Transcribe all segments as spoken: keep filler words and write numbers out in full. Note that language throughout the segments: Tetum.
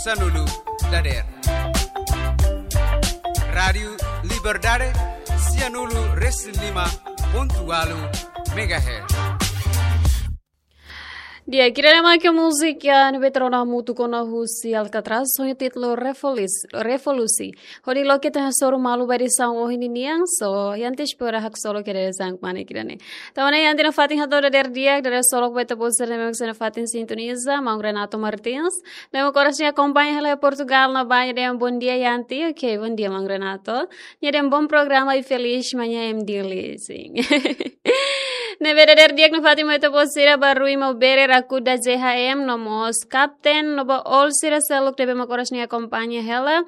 Sanulu dader. Rádiu Liberdade, sianulu resin lima pontu ualu megahertz. Di'ak, ida-ne'e mak múzika ne'ebé ita rona hamutuk ona husi Alcatraz, ho títulu Revolus-, Revolusi. Hodi loke ita hasoru malu ba edisaun ohin ninian, so, iha antes para haksolok ida-ne'e sang mane ida-ne'e. Tanba ne'e iha antes nafatin hato'o dader di'ak, dader solok ba ita-boot sira ne'ebé mak sei nafatin sintoniza, maun Renato Martins. Ne'ebé mak oras ne'e akompaña hela iha Portugal, na Baña dem bom dia iha antes, ok, bom dia, maun Renato. Nia dehan bom programa e feliz manhã M D L, sin. Ne'ebé dader di'ak nafatin mai ita-boot sira ba Rui Maubere, Rakuda J H M, no mós Kapten, no ba all sira seluk ne'ebé mak oras ne'e akompaña hela.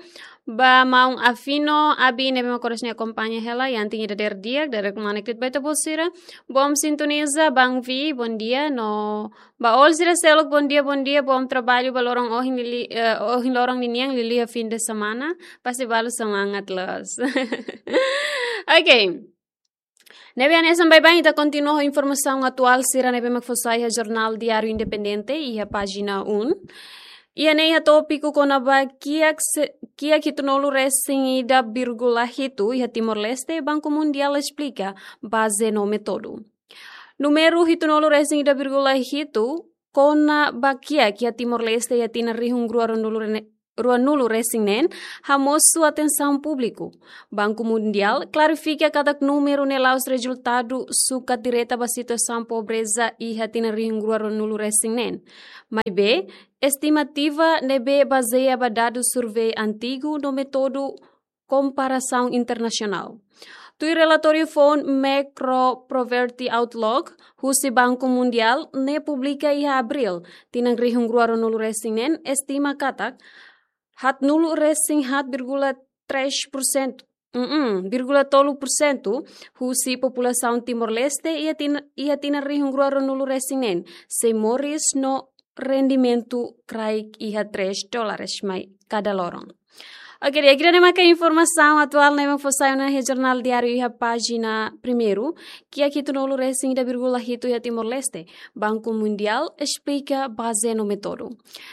Ba maun Afino, Abi ne'ebé mak oras ne'e akompaña hela, iha antes ida dader di'ak, dader kmanek de'it ba ita-boot sira. Bom sintoniza, Bang Vi, bom dia, no ba all sira seluk, bom dia, bom dia, bom trabalho, ba loron ohin lili-, eh, ohin loron ninian liuliu fim de semana, pasti balu semangat loos. Ok. Ne'ebé hanesan baibain ita kontinua ho informasaun atuál sira ne'ebé mak fó sai iha Jornál Diáriu Independente, iha pájina um. Iha ne'e iha tópiku kona-ba kiak se-, kiak hitunulu resin ida vírgula hitu iha Timor-Leste, Banku Mundiál esplika baze no métodu. Númeru hitunulu resin ida vírgula hitu kona-ba kiak iha Timor-Leste iha tinan rihun rua ruanulu rene-, ruanulu resin neen, hamosu atensaun públiku. Banku Mundiál klarifika katak númeru ne'e la'ós rezultadu sukat direta ba situasaun pobreza iha tinan rihun rua ruanulu resin neen. Maibé, estimativa ne'ebé bazeia ba dadus survei antigu no métodu komparasaun internasionál. Tuir relatóriu foun Macro Poverty Outlook, husi Banku Mundiál, ne'e publika iha Abríl, tinan rihun rua ruanulu resin neen, estima katak, haatnulu resin haat vírgula três por cento, mm, vírgula tolu por cento, husi populasaun Timor-Leste iha tin-, iha tinan rihun rua ruanulu resin neen, sei moris no rendimentu kraik iha três dólares mai kada loron. Ok, di'ak, ida-ne'e maka informasaun atuál ne'ebé mak fó sai ona iha Jornál Diáriu iha pájina primeiru, kiak hitunulu resin ida vírgula hitu iha Timor-Leste, Banku Mundiál esplika baze no métodu.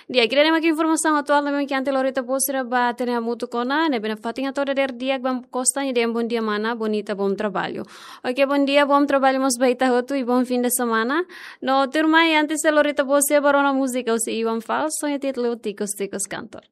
Di'ak, ida-ne'e maka informasaun atuál ne'ebé mak iha antes lori ita-boot sira ba hatene hamutuk ona, ne'ebé nafatin hato'o dader di'ak Bang Costa, nia dehan bom dia mana, bonita, bom trabalho. Ok, bom dia, bom trabalho mós ba ita hotu, i bom fim de semana. No tuirmai, antes sei lori ita-boot sira ba rona múzika husi Iwan Fals, ho títulu Tikus Tikus Kantor.